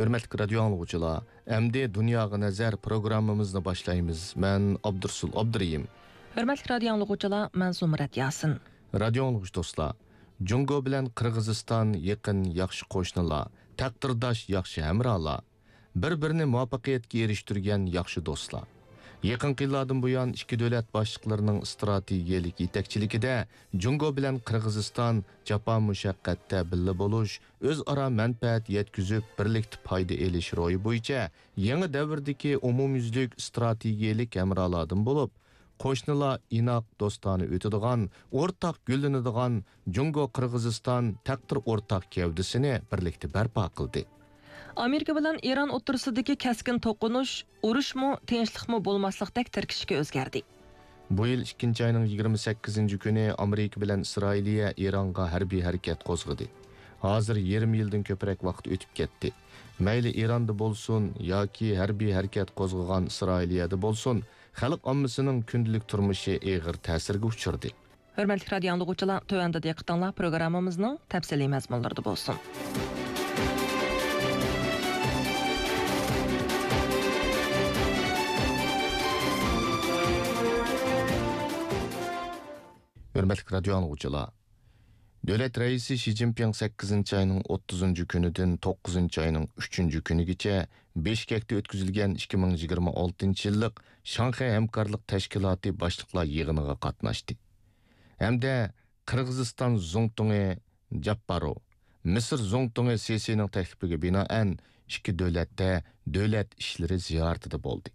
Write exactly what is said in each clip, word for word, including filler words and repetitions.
ھۆرمەتلىك رادىيو ئاڭلىغۇچىلار، ئەمدى دۇنياغا نەزەر پروگراممىمىزنى باشلايمىز. مەن ئابدۇرسۇل ئابدۇرېھىم. ھۆرمەتلىك رادىيو ئاڭلىغۇچىلار، مەن زۇمرەت ياسىن. رادىيو ئاڭلىغۇچى دوستلار، جۇڭگو بىلەن قىرغىزىستان يېقىن ياخشى قوشنىلار، تەقدىرداش ياخشى ھەمراھلار، بىر-بىرىنى مۇۋەپپەقىيەتكە ئېرىشتۈرگەن ياخشى دوستلار. يېقىنقى يىللاردىن بۇيان، ئىككى دۆلەت باشلىقلىرىنىڭ ئىستراتېگىيەلىك يېتەكچىلىكىدە جۇڭگو بىلەن قىرغىزىستان جاپا مۇشەققەتتە بىللە بولۇش، ئۆزئارا مەنپەئەت يەتكۈزۈپ، بىرلىكتە پايدا ئېلىش روھى بويىچە يېڭى دەۋردىكى ئومۇميۈزلۈك ئىستراتېگىيەلىك ھەمراھلاردىن بولۇپ، قوشنىلار ئىناق، دوستانە ئۆتىدىغان، ئورتاق گۈللىنىدىغان جۇڭگو-قىرغىزىستان تەقدىر ئورتاق گەۋدىسىنى بىرلىكتە بەرپا قىلدى. ئامېرىكا بىلەن ئىران ئوتتۇرىسىدىكى كەسكىن توقۇنۇش ئۇرۇشمۇ، تىنچلىقمۇ بولماسلىقتەك تىركىشىگە ئۆزگەردى. بۇ يىل ئىككىنچى ئاينىڭ يىگىرمە سەككىزىنچى كۈنى ئامېرىكا بىلەن ئىسرائىلىيە ئىرانغا ھەربىي ھەرىكەت قوزغىدى. ھازىر يېرىم يىلدىن كۆپرەك ۋاقىت ئۆتۈپ كەتتى. مەيلى ئىراندا بولسۇن ياكى ھەربىي ھەرىكەت قوزغىغان ئىسرائىلىيەدە بولسۇن، خەلق ئاممىسىنىڭ كۈندىلىك تۇرمۇشى ئېغىر تەسىرگە ئۇچرىدى. ھۆرمەتلىك رادىيو ئاڭلىغۇچىلار، تۆۋەندە دىققىتىڭلار پروگراممىمىزنىڭ تەپسىلىي مەزمۇنلىرىدا بولسۇن. ھۆرمەتلىك رادىيو ئاڭلىغۇچىلار، دۆلەت رەئىسى شى جىنپىڭ سەككىزىنچى ئاينىڭ ئوتتۇزىنچى كۈنىدىن توققۇزىنچى ئاينىڭ ئۈچىنچى كۈنىگىچە بىشكەكتە ئۆتكۈزۈلگەن ئىككى مىڭ يىگىرمە ئالتىنچى يىللىق شاڭخەي ھەمكارلىق تەشكىلاتى باشلىقلار يىغىنىغا قاتناشتى ھەمدە قىرغىزىستان زۇڭتۇڭى جاپپارو، مىسىر زۇڭتۇڭى سىسىنىڭ تەكلىپىگە بىنائەن، ئىككى دۆلەتتە دۆلەت ئىشلىرى زىيارىتىدە بولدى.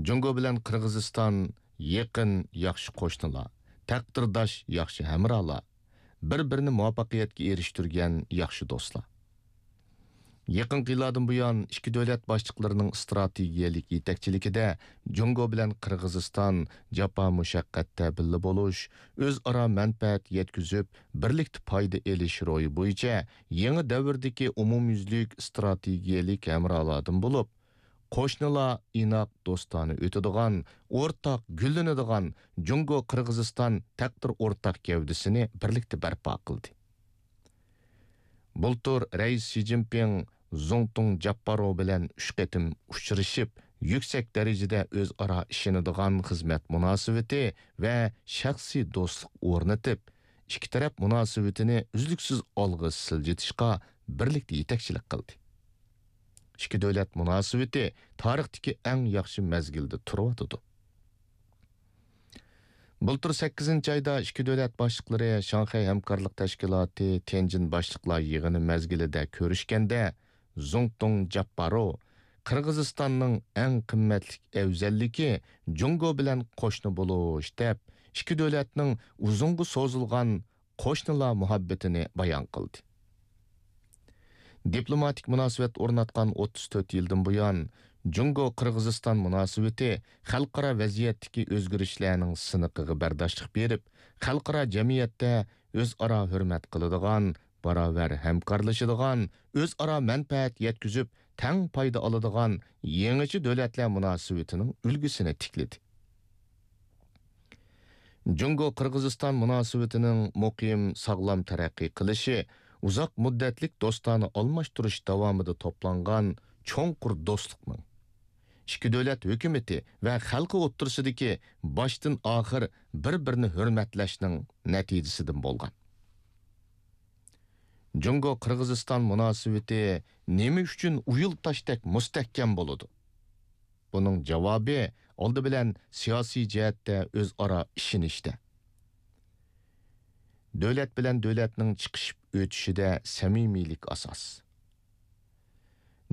جۇڭگو بىلەن قىرغىزىستان يېقىن، ياخشى قوشنىلار، تەقدىرداش، ياخشى ھەمراھلار، بىر-بىرىنى مۇۋەپپەقىيەتكە ئېرىشتۈرگەن ياخشى دوستلار. يېقىنقى يىللاردىن بۇيان، ئىككى دۆلەت باشلىقلىرىنىڭ ئىستراتېگىيەلىك يېتەكچىلىكىدە جۇڭگو بىلەن قىرغىزىستان جاپا مۇشەققەتتە بىللە بولۇش، ئۆزئارا مەنپەئەت يەتكۈزۈپ، بىرلىكتە پايدا ئېلىش روھى بويىچە يېڭى دەۋردىكى ئومۇميۈزلۈك ئىستراتېگىيەلىك ھەمراھلاردىن بولۇپ، قوشنىلار ئىناق، دوستانە ئۆتىدىغان، ئورتاق گۈللىنىدىغان جۇڭگو-قىرغىزىستان تەقدىر ئورتاق گەۋدىسىنى بىرلىكتە بەرپا قىلدى. بۇلتۇر رەئىس شى جىنپىڭ زۇڭتۇڭ جاپپارو بىلەن ئۈچ قېتىم ئۇچرىشىپ، يۈكسەك دەرىجىدە ئۆزئارا ئىشىنىدىغان خىزمەت مۇناسىۋىتى ۋە شەخسىي دوستلۇق ئورنىتىپ، ئىككى تەرەپ مۇناسىۋىتىنى ئۈزلۈكسىز ئالغا سىلجىتىشقا بىرلىكتە يېتەكچىلىك قىلدى. ئىككى دۆلەت مۇناسىۋىتى تارىختىكى ئەڭ ياخشى مەزگىلدە تۇرۇۋاتىدۇ. بۇلتۇر سەككىزىنچى ئايدا ئىككى دۆلەت باشلىقلىرى شاڭخەي ھەمكارلىق تەشكىلاتى تيەنجىن باشلىقلار يىغىنى مەزگىلىدە كۆرۈشكەندە، زۇڭتۇڭ جاپپارو، قىرغىزىستاننىڭ ئەڭ قىممەتلىك ئەۋزەللىكى جۇڭگو بىلەن قوشنا بولۇش، دەپ، ئىككى دۆلەتنىڭ ئۇزۇنغا سوزۇلغان قوشنىلار مۇھەببىتىنى بايان قىلدى. دىپلوماتىك مۇناسىۋەت ئورناتقان ئوتتۇز تۆت يىلدىن بۇيان، جۇڭگو-قىرغىزىستان مۇناسىۋىتى خەلقئارا ۋەزىيەتتىكى ئۆزگىرىشلەرنىڭ سىنىقىغا بەرداشلىق بېرىپ، خەلقئارا جەمئىيەتتە ئۆزئارا ھۆرمەت قىلىدىغان، باراۋەر ھەمكارلىشىدىغان، ئۆزئارا مەنپەئەت يەتكۈزۈپ، تەڭ پايدا ئالىدىغان يېڭىچە دۆلەتلەر مۇناسىۋىتىنىڭ ئۈلگىسىنى تىكلىدى. جۇڭگو-قىرغىزىستان مۇناسىۋىتىنىڭ مۇقىم، ساغلام تەرەققىي قىلىشى ئۇزاق مۇددەتلىك دوستانە ئالماشتۇرۇش داۋامىدا توپلانغان چوڭقۇر دوستلۇقنىڭ، ئىككى دۆلەت ھۆكۈمىتى ۋە خەلقى ئوتتۇرىسىدىكى باشتىن ئاخىر بىر-بىرىنى ھۆرمەتلەشنىڭ نەتىجىسىدىن بولغان. جۇڭگو-قىرغىزىستان مۇناسىۋىتى نېمە ئۈچۈن ئۇيۇل تاشتەك مۇستەھكەم بولىدۇ؟ بۇنىڭ جاۋابى ئالدى بىلەن سىياسىي جەھەتتە ئۆزئارا ئىشىنىشتە. دۆلەت بىلەن دۆلەتنىڭ چىقىشىپ ئۆتۈشىدە سەمىمىيلىك ئاساس.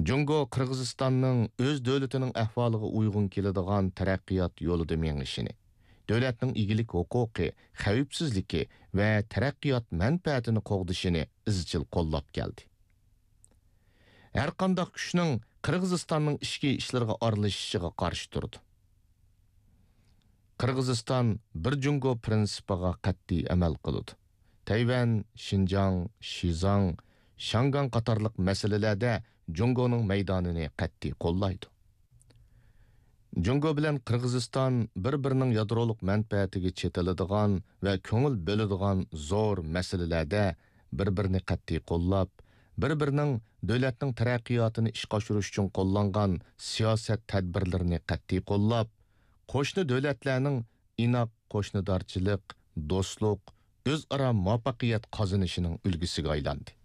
جۇڭگو قىرغىزىستاننىڭ ئۆز دۆلىتىنىڭ ئەھۋالىغا ئۇيغۇن كېلىدىغان تەرەققىيات يولىدا مېڭىشىنى، دۆلەتنىڭ ئىگىلىك ھوقۇقى، خەۋپسىزلىكى ۋە تەرەققىيات مەنپەئەتىنى قوغدىشىنى ئىزچىل قوللاپ كەلدى. ھەرقانداق كۈچنىڭ قىرغىزىستاننىڭ ئىچكى ئىشلىرىغا ئارىلىشىشىغا قارشى تۇرىدۇ. قىرغىزىستان بىر جۇڭگو پىرىنسىپىغا قەتئىي ئەمەل قىلىدۇ. تەيۋەن، شىنجاڭ، شىزاڭ، شياڭگاڭ قاتارلىق مەسىلىلەردە جۇڭگونىڭ مەيدانىنى قەتئىي قوللايدۇ. جۇڭگو بىلەن قىرغىزىستان بىر-بىرىنىڭ يادرولۇق مەنپەئەتىگە چېتىلىدىغان ۋە كۆڭۈل بۆلىدىغان زور مەسىلىلەردە بىر-بىرىنى قەتئىي قوللاپ، بىر-بىرىنىڭ دۆلەتنىڭ تەرەققىياتىنى ئىشقا ئاشۇرۇش ئۈچۈن قوللانغان سىياسەت تەدبىرلىرىنى قەتئىي قوللاپ، قوشنا دۆلەتلەرنىڭ ئىناق قوشنىدارچىلىق، دوستلۇق، ئۆزئارا مۇۋەپپەقىيەت قازىنىشىنىڭ ئۈلگىسىگە ئايلاندى.